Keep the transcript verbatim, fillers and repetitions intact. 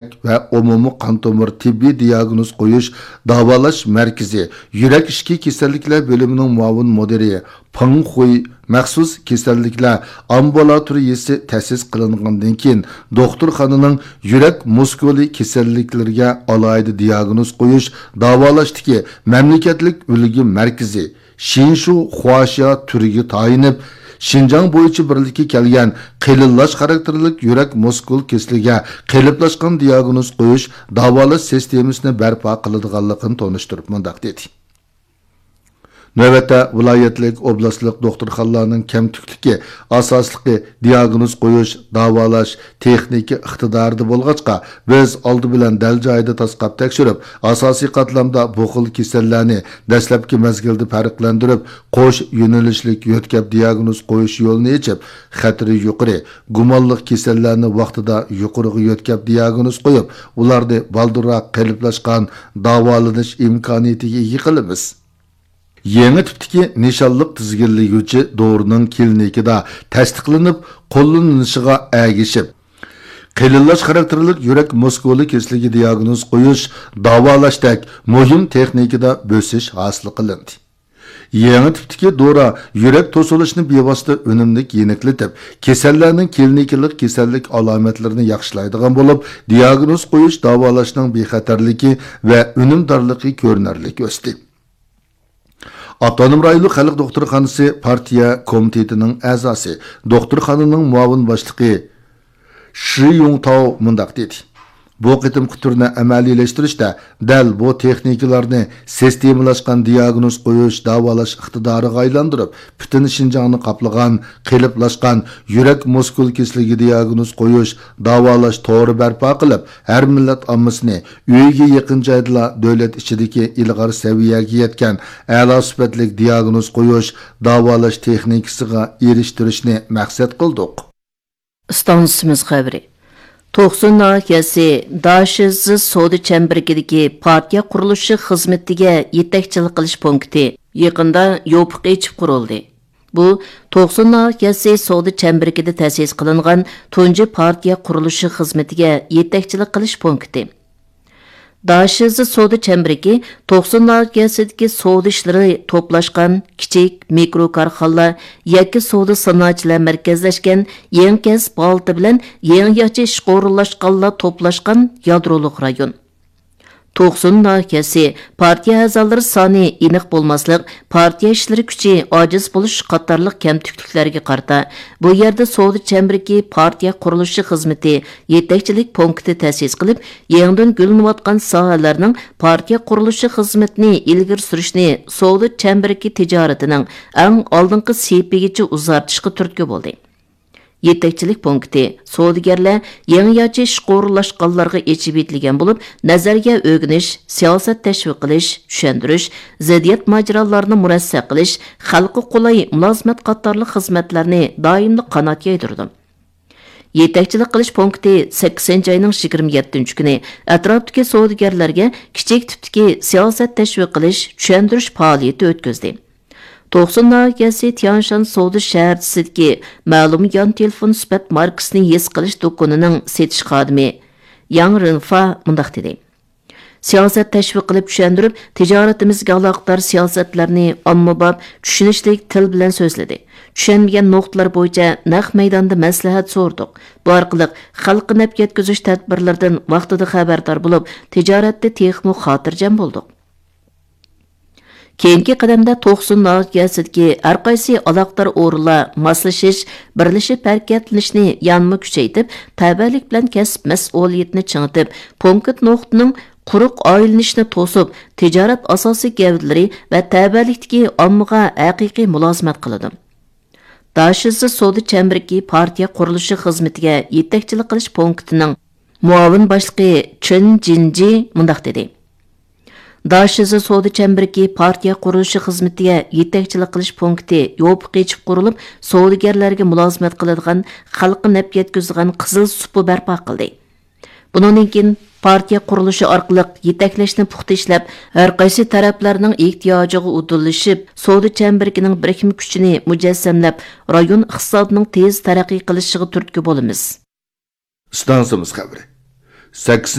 ۋە ئومۇمىي قان تومۇر تېببىي دىياگنوز قويۇش داۋالاش مەركىزى يۈرەك ئىچكى كېسەللىكلەر بۆلۈمىنىڭ مۇئاۋىن مۇدىرى پېڭ خۇي مەخسۇس كېسەللىكلەر ئامبۇلاتورىيىسى تەسىس قىلىنغاندىن كېيىن، دوختۇرخانىنىڭ يۈرەك مۇسكۇلى كېسەللىكلىرىگە ئالاھىدە دىياگنوز قويۇش، داۋالاشتىكى مەملىكەتلىك ئۈلگە مەركىزى شىنشۇ خۇاشيا تۈرىگە تايىنىپ، شىنجاڭ بويىچە بىرلىككە كەلگەن قېلىنلاش خاراكتېرلىك يۈرەك مۇسكۇل كېسىلىگە قېلىپلاشقان دىياگنوز قويۇش، داۋالاش سىستېمىسىنى بەرپا قىلىدىغانلىقىنى تونۇشتۇرۇپ مۇنداق دېدى. نۆۋەتتە، ۋىلايەتلىك، ئوبلاستلىق دوختۇرخانىلارنىڭ كەمتۈكلۈكى ئاساسلىقى دىياگنوز قويۇش، داۋالاش، تېخنىكا ئىقتىدارىدا بولغاچقا، بىز ئالدى بىلەن دەل جايىدا تاسقاپ تەكشۈرۈپ، ئاساسىي قاتلامدا بۇ خىل كېسەللەرنى دەسلەپكى مەزگىلدە پەرقلەندۈرۈپ، قوش يۆنىلىشلىك يۆتكەپ دىياگنوز قويۇش يولىنى ئېچىپ، خەتىرى يۇقىرى، گۇمانلىق كېسەللەرنى ۋاقتىدا يۇقىرىغا يۆتكەپ دىياگنوز قويۇپ، ئۇلارنى بالدۇرراق قېلىپلاشقان داۋالىنىش ئىمكانىيىتىگە ئىگە قىلىمىز. يېڭى تىپتىكى نىشانلىق تىزگىنلىگۈچى دورىنىڭ كلىنىكىدا تەستىقلىنىپ قوللىنىلىشىغا ئەگىشىپ، قېلىنلاش خاراكتېرلىك يۈرەك مۇسكۇلى كېسىلىگە دىياگنوز قويۇش، داۋالاشتەك مۇھىم تېخنىكىدا بۆسۈش ھاسىل قىلىندى. يېڭى تىپتىكى دورا يۈرەك توسۇلۇشنى بىۋاسىتە ئۈنۈملۈك يېنىكلىتىپ، كېسەللەرنىڭ كلىنىكىلىق كېسەللىك ئالامەتلىرىنى ياخشىلايدىغان بولۇپ، دىياگنوز قويۇش، داۋالاشنىڭ بىخەتەرلىكى ۋە ئۈنۈمدارلىقى كۆرۈنەرلىك ئۆستى. ئاپتونوم رايونلۇق خەلق دوختۇرخانىسى پارتىيە كومىتېتىنىڭ ئەزاسى، دوختۇرخانىنىڭ مۇئاۋىن باشلىقى شى يۇڭتاۋ مۇنداق دېدى: بۇ قېتىمقى تۈرنى ئەمەلىيلەشتۈرۈشتە دەل بۇ تېخنىكىلارنى سىستېمىلاشقان دىياگنوز قويۇش، داۋالاش ئىقتىدارىغا ئايلاندۇرۇپ، پۈتۈن شىنجاڭنى قاپلىغان قېلىپلاشقان يۈرەك مۇسكۇل كېسىلىگە دىياگنوز قويۇش، داۋالاش تورى بەرپا قىلىپ، ھەر مىللەت ئاممىسىنى ئۆيىگە يېقىن جايدىلا دۆلەت ئىچىدىكى ئىلغار سەۋىيەگە يەتكەن ئەلا سۈپەتلىك دىياگنوز قويۇش، داۋالاش تېخنىكىسىغا ئېرىشتۈرۈشنى مەقسەت قىلدۇق. ئىستانسىمىز خەۋىرى. توقسۇن ناھىيەسى داشىزى سودا چەمبىرىكىدىكى پارتىيە قۇرۇلۇشى خىزمىتىگە يېتەكچىلىك قىلىش پونكىتى يېقىندا يوپۇق ئېچىپ قۇرۇلدى. بۇ توقسۇن ناھىيەسى سودا چەمبىرىكىدە تەسىس قىلىنغان تۇنجى پارتىيە قۇرۇلۇشى خىزمىتىگە يېتەكچىلىك قىلىش پونكىتى. داشىزى سودا چەمبىرىكى توقسۇن ناھىيەسىدىكى سودا ئىشلىرى توپلاشقان كىچىك، مىكرو كارخانىلار، يەككە سودا سانائەتچىلەر مەركەزلەشكەن يېڭى كەسىپ ھالىتى بىلەن يېڭىچە ئىشقا ئورۇنلاشقانلار توپلاشقان يادرولۇق رايون. توقسۇن ناھىيەسى پارتىيە ئەزالىرى سانى ئېنىق بولماسلىق، پارتىيە ئىشلىرى كۈچى ئاجىز بولۇش قاتارلىق كەمتۈكلۈكلەرگە قارىتا، بۇ يەردە سودا چەمبىرىكى پارتىيە قۇرۇلۇشى خىزمىتى يېتەكچىلىك پونكىتى تەسىس قىلىپ، يېڭىدىن گۈللىنىۋاتقان ساھەلەرنىڭ پارتىيە قۇرۇلۇشى خىزمىتىنى ئىلگىرى سۈرۈشنى سودا چەمبىرىكى تىجارىتىنىڭ ئەڭ ئالدىنقى سېپىگىچە ئۇزارتىشقا تۈرتكە بولدى. يېتەكچىلىك پونكىتى سودىگەرلەر يېڭىچە ئىشقا ئورۇنلاشقانلارغا ئېچىۋېتىلگەن بولۇپ، نەزەرىيە ئۆگىنىش، سىياسەت تەشۋىق قىلىش، چۈشەندۈرۈش، زىددىيەت ماجىرالارنى مۇرەسسە قىلىش، خەلققە قولاي مۇلازىمەت قاتارلىق خىزمەتلەرنى دائىملىق قانات يايدۇرىدۇ. يېتەكچىلىك قىلىش پونكىتى سەككىزىنچى ئاينىڭ يىگىرمە يەتتىنچى كۈنى ئەتراپتىكى سودىگەرلەرگە كىچىك تىپتىكى سىياسەت تەشۋىق قىلىش، چۈشەندۈرۈش پائالىيىتى ئۆتكۈزدى. توقسۇن ناھىيەسى تيانشان سودا شەھەرچىسىدىكى مەلۇم يان تېلېفون سۈپەت ماركىسىنى ھېس قىلىش دۇكىنىنىڭ سېتىش خادىمى ياڭ رېنفا مۇنداق دېدى: سىياسەت تەشۋىق قىلىپ چۈشەندۈرۈپ، تىجارىتىمىزگە ئالاقىدار سىياسەتلەرنى ئاممىباب، چۈشىنىشلىك تىل بىلەن سۆزلىدى. چۈشەنمىگەن نۇقتىلار بويىچە نەق مەيداندا مەسلىھەت سورىدۇق. بۇ ئارقىلىق خەلققە نەپ يەتكۈزۈش تەدبىرلىرىدىن ۋاقتىدا خەۋەردار بولۇپ، تىجارەتتە تېخىمۇ خاتىرجەم بولدۇق. كېيىنكى قەدەمدە توقسۇن ناھىيەسىدىكى ھەرقايسى ئالاقىدار ئورۇنلار ماسلىشىش، بىرلىشىپ ھەرىكەتلىنىشنى يەنىمۇ كۈچەيتىپ، تەۋەلىك بىلەن كەسىپ مەسئۇلىيىتىنى چىڭىتىپ، پونكىت نۇقتىنىڭ قۇرۇق ئايلىنىشنى توسۇپ، تىجارەت ئاساسىي گەۋدىلىرى ۋە تەۋەلىكتىكى ئاممىغا ھەقىقىي مۇلازىمەت قىلىدۇ. داشىزى سودا چەمبىرىكى پارتىيە قۇرۇلۇشى خىزمىتىگە يېتەكچىلىك قىلىش پونكىتىنىڭ مۇئاۋىن باشلىقى چېن جىنجى مۇنداق دېدى: داشىزى سودا چەمبىرىكى پارتىيە قۇرۇلۇشى خىزمىتىگە يېتەكچىلىك قىلىش پونكىتى يوپۇق ئېچىپ قۇرۇلۇپ، سودىگەرلەرگە مۇلازىمەت قىلىدىغان، خەلققە نەپ يەتكۈزىدىغان قىزىل سۇپا بەرپا قىلدى. بۇنىڭدىن كېيىن پارتىيە قۇرۇلۇشى ئارقىلىق يېتەكلەشنى پۇختا ئىشلەپ، ھەرقايسى تەرەپلەرنىڭ ئېھتىياجىغا ئۇدۇللىشىپ، سودا چەمبىرىكىنىڭ بىرىكمە كۈچىنى مۇجەسسەملەپ، رايون ئىقتىسادىنىڭ تېز تەرەققىي قىلىشىغا تۈرتكە بولىمىز. ئىستانسىمىز خەۋىرى. سەككىز